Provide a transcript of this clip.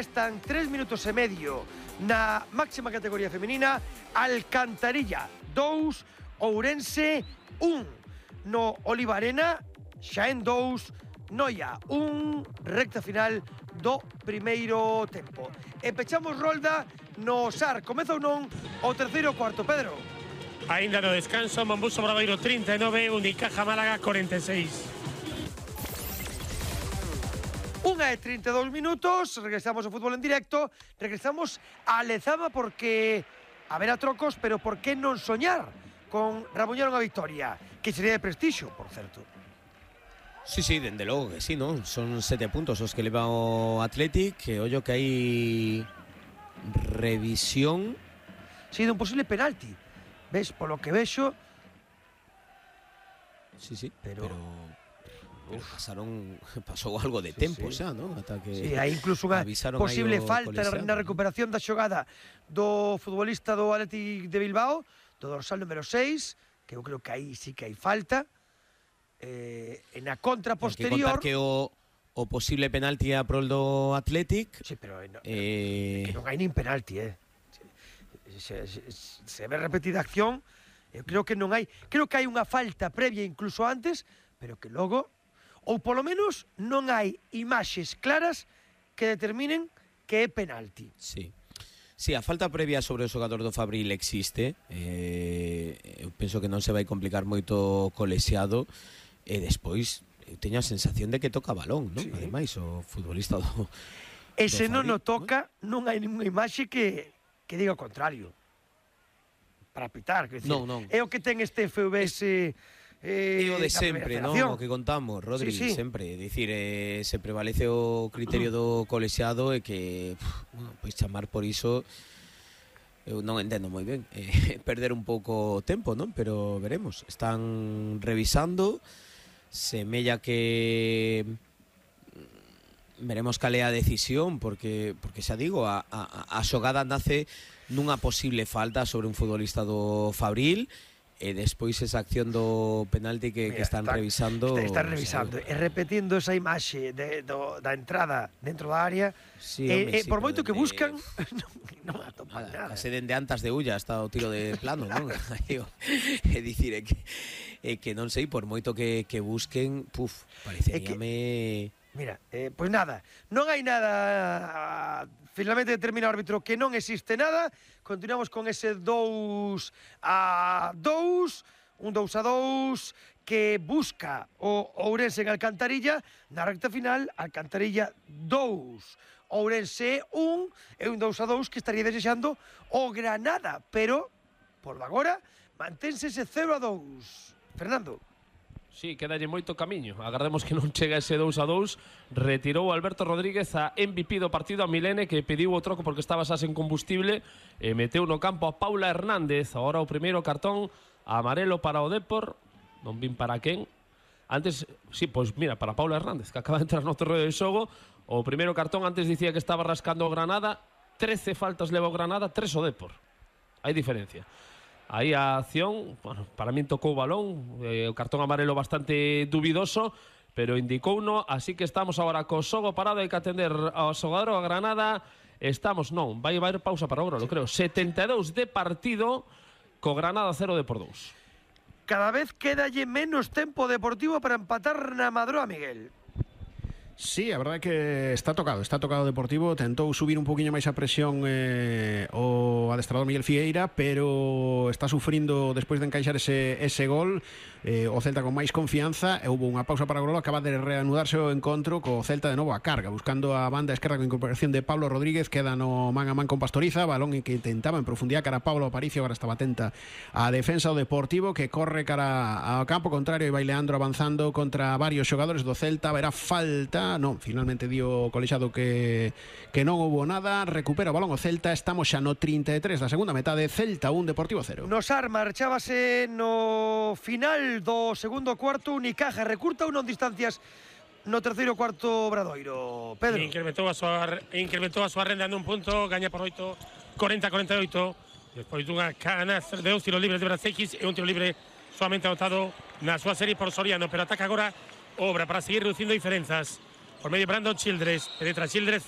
restan 3 minutos e medio na máxima categoría femenina. Alcantarilla 2, Ourense 1. No Oliva Arena, Xaén 2, Noia 1, recta final do primeiro tempo. E pechamos rolda no SAR. Comeza ou non o terceiro cuarto, Pedro? Ainda no descanso, Mombuso Obradoiro 39, Unicaja Málaga 46. 1:32 minutos, regresamos ao fútbol en directo, regresamos a Lezama porque haberá trocos, pero por que non soñar con rabuñar unha victoria, que sería de prestixio, por certo. Sí, dende logo que sí, non? Son 7 puntos os que leva o Athletic, que ollo que hai revisión. Sí, dun posible penalti. Ves, polo que vexo. Sí, pero pasou algo de tempo xa, non? Ata que sí, hai incluso unha posible falta na recuperación da xogada do futbolista do Athletic de Bilbao, do dorsal número 6, que eu creo que aí sí que hai falta. En a contra posterior. Que contar que o posible penalti a prol do Athletic. Sí, pero que non hai nin penalti, se ve repetida acción, eu creo que non hai. Creo que hai unha falta previa incluso antes, pero que logo, ou polo menos non hai imaxes claras que determinen que é penalti. Sí, a falta previa sobre o xogador do Fabril existe. Eu penso que non se vai complicar moito co lexiado. E despois eu teño a sensación de que toca balón, non? Sí. Ademais, o futbolista do E se non o toca, non hai ninguna imaxe que diga o contrario. Para pitar, que decir, non. É o que ten este FVS. É o de sempre, non? O que contamos, Rodri, sí. sempre. É dicir, se prevalece o criterio do colexiado e que, pois chamar por iso, eu non entendo moi ben. Perder un pouco tempo, non? Pero veremos. Están revisando, semella que veremos cal é a decisión, porque xa digo, a xogada nace nunha posible falta sobre un futbolista do Fabril. E despois esa acción do penalti que están revisando. Están revisando e repetindo esa imaxe da entrada dentro da área. Sí, por moito que buscan, non atopan nada. Case dende antas de Ulla está o tiro de plano, non? É dicir, é que non sei, por moito que busquen, pareceríame. Mira, pois nada, non hai nada. Finalmente determina o árbitro que non existe nada. Continuamos con ese 2-2, un 2-2 que busca o Ourense en Alcantarilla. Na recta final, Alcantarilla 2, Ourense 1, e un 2-2 que estaría desexando o Granada, pero por agora mantense ese 0-2. Fernando. Sí, quedalle moito camiño. Agardemos que non chega ese 2-2. Retirou Alberto Rodríguez a MVP do partido, a Milene, que pediu o troco porque estaba xa sen combustible, e meteu no campo a Paula Hernández. Agora o primeiro cartón amarelo para o Depor. Non vin para quen. Antes, sí, pois mira, para Paula Hernández, que acaba de entrar no terreo de xogo. O primeiro cartón antes dicía que estaba rascando o Granada. 13 faltas leva o Granada, 3 o Depor. Hai diferencia. Aí a acción, bueno, para min tocou o balón, o cartón amarelo bastante dubidoso, pero indicouno, así que estamos agora co xogo parado, hai que atender ao xogador a Granada. Estamos, non, vai haber pausa para o Grolo, creo. 72 de partido, co Granada 0 de por 2. Cada vez quedalle menos tempo deportivo para empatar na Madroa, Miguel. Sí, a verdade é que está tocado o Deportivo. Tentou subir un poquinho máis a presión o adestrador Miguel Fieira, pero está sufrindo despois de encaixar ese gol. O Celta con máis confianza. Houve unha pausa para o Grolo, acaba de reanudarse o encontro co Celta de novo a carga, buscando a banda esquerda con incorporación de Pablo Rodríguez. Queda no man a man con Pastoriza, balón que intentaba en profundidade cara a Pablo Aparicio. Agora estaba atenta a defensa do Deportivo, que corre cara ao campo contrario e vai Leandro avanzando contra varios xogadores do Celta. Verá falta. Non, finalmente dio o colexiado que non houbo nada. Recupera o balón o Celta. Estamos xa no 33 da segunda metade. Celta 1, Deportivo 0. Nos Ar marchábase no final do segundo cuarto. Unicaja recurta en distancias no terceiro cuarto Obradoiro. Pedro. Incrementou a súa renda nun punto. Gaña por 8, 40-48. Despois dunha canastra de 2 tiros libres de Brasseikis e un tiro libre solamente anotado na súa serie por Soriano. Pero ataca agora Obra para seguir reducindo diferenzas. Por medio Brandon Childress, penetra Childress,